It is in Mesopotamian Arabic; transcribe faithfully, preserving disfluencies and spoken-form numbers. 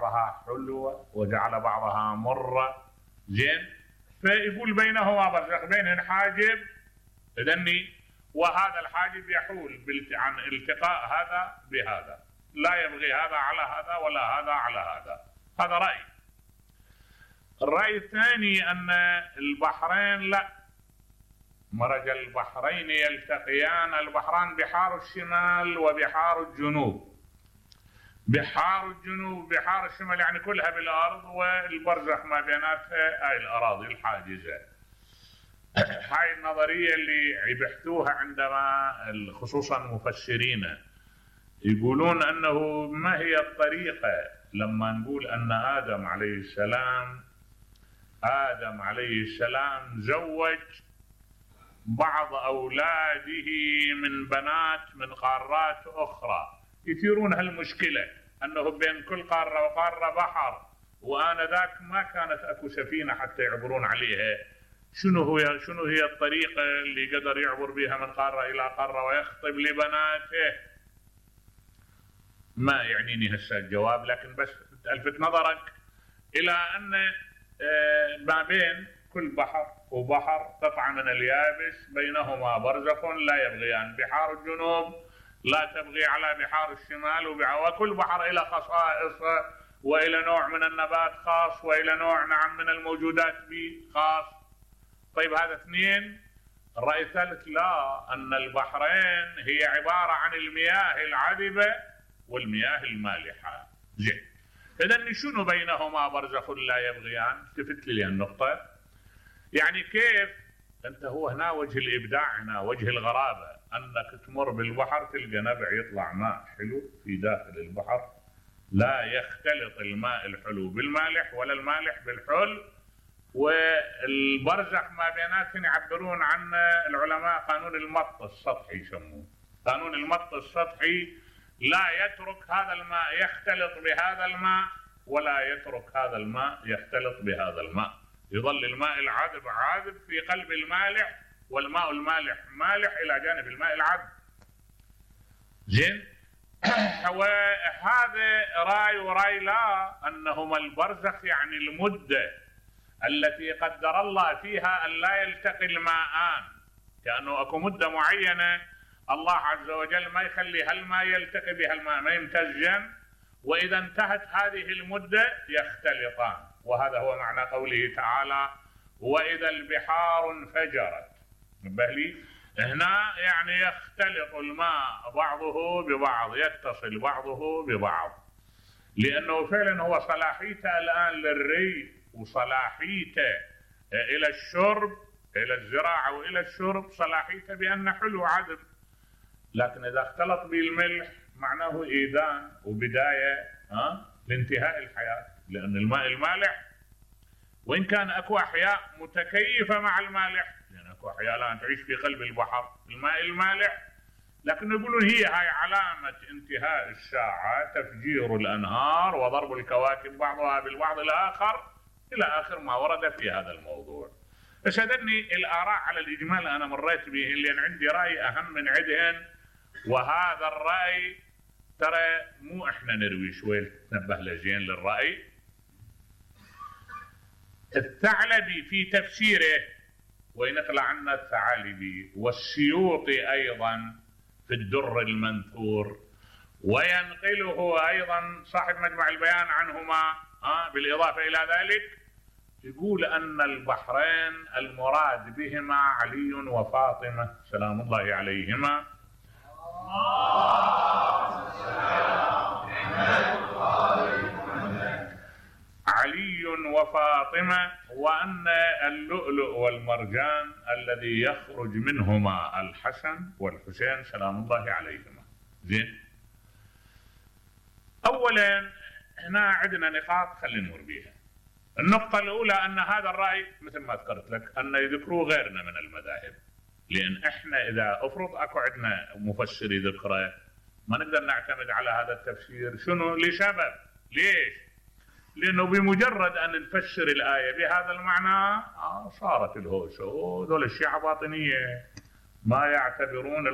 بعضها حلوة وجعل بعضها مرة. زين، فيقول بينهما برزخ، بينهن حاجب إذني، وهذا الحاجب يحول عن التقاء هذا بهذا، لا يبغي هذا على هذا ولا هذا على هذا. هذا رأي. الرأي الثاني أن البحرين لا، مرج البحرين يلتقيان، البحران بحار الشمال وبحار الجنوب. بحار الجنوب بحار الشمال يعني كلها بالأرض، والبرزخ ما بيناتها هاي الأراضي الحاجزة. هاي النظرية اللي يبحثوها عندما خصوصا مفسرين يقولون أنه ما هي الطريقة لما نقول أن آدم عليه السلام آدم عليه السلام زوج بعض أولاده من بنات من قارات أخرى. يثيرون هالمشكلة أنه بين كل قارة وقارة بحر، وآنذاك ما كانت أكو سفينة حتى يعبرون عليها. شنو هو شنو هي الطريقة اللي قدر يعبر بها من قارة إلى قارة ويخطب لبناته؟ ما يعنيني هسه الجواب، لكن بس ألفت نظرك إلى أن ما بين كل بحر وبحر قطعة من اليابس بينهما برزخ لا يبغيان. بحار الجنوب لا تبغي على بحار الشمال، وكل بحر إلى خصائص وإلى نوع من النبات خاص وإلى نوع نعم من الموجودات به خاص. طيب هذا اثنين. الرأي الثالث لا، أن البحرين هي عبارة عن المياه العذبة والمياه المالحة. زين، إذن شنو بينهما برزخ لا يبغيان؟ التفت لي النقطة. يعني كيف أنت، هو هنا وجه الإبداع، هنا وجه الغرابة، أنك تمر بالبحر تلقى نبع يطلع ماء حلو في داخل البحر، لا يختلط الماء الحلو بالمالح ولا المالح بالحل، والبرزخ ما بيناتهم يعبرون عن العلماء قانون المط السطحي يسموه. قانون المط السطحي لا يترك هذا الماء يختلط بهذا الماء ولا يترك هذا الماء يختلط بهذا الماء، يظل الماء العذب عاذب في قلب المالح، والماء المالح مالح إلى جانب الماء العذب. زين، وهذا راي وراي لا، أنهما البرزخ يعني المدة التي قدر الله فيها أن لا يلتقي الماءان، كأنه أكو مدة معينة الله عز وجل ما يخلي هالماء يلتقي بهالماء، ما يمتزجن، وإذا انتهت هذه المدة يختلطان. وهذا هو معنى قوله تعالى وإذا البحار انفجرت. نبه لي هنا يعني يختلط الماء بعضه ببعض، يتصل بعضه ببعض، لأنه فعلا هو صلاحيته الآن للري وصلاحيته إلى الشرب، إلى الزراعة وإلى الشرب صلاحيته بأنه حلو عذب. لكن إذا اختلط بالملح معناه إيذان وبداية ها لانتهاء الحياة، لأن الماء المالح وإن كان أكو أحياء متكيفة مع المالح، لأن أكو أحياء الآن تعيش في قلب البحر الماء المالح، لكن يقولون هي هاي علامة انتهاء الساعة، تفجير الأنهار وضرب الكواكب بعضها بالبعض الآخر إلى آخر ما ورد في هذا الموضوع. بس هذني الآراء على الإجمال أنا مريت به، لأن عندي رأي أهم من عندهن، وهذا الرأي ترى مو إحنا نروي شوي تنبه لزين للرأي. الثعلبي في تفسيره وينقل عنا الثعالبي، والسيوطي أيضا في الدر المنثور، وينقله أيضا صاحب مجمع البيان عنهما آه بالإضافة إلى ذلك، يقول أن البحرين المراد بهما علي وفاطمة سلام الله عليهما. علي وفاطمة، وأن اللؤلؤ والمرجان الذي يخرج منهما الحسن والحسين سلام الله عليهما. زين، أولا هنا عندنا نقاط خلينا نمر بيها. النقطة الأولى أن هذا الرأي مثل ما ذكرت لك أن يذكروا غيرنا من المذاهب، لأن إحنا إذا أفرض أكو عندنا مفسري ذكره ما نقدر نعتمد على هذا التفسير. شنو؟ لسبب. ليش؟ لأنه بمجرد أن نفسر الآية بهذا المعنى صارت الهوسة، ودول الشيعة باطنية ما يعتبرون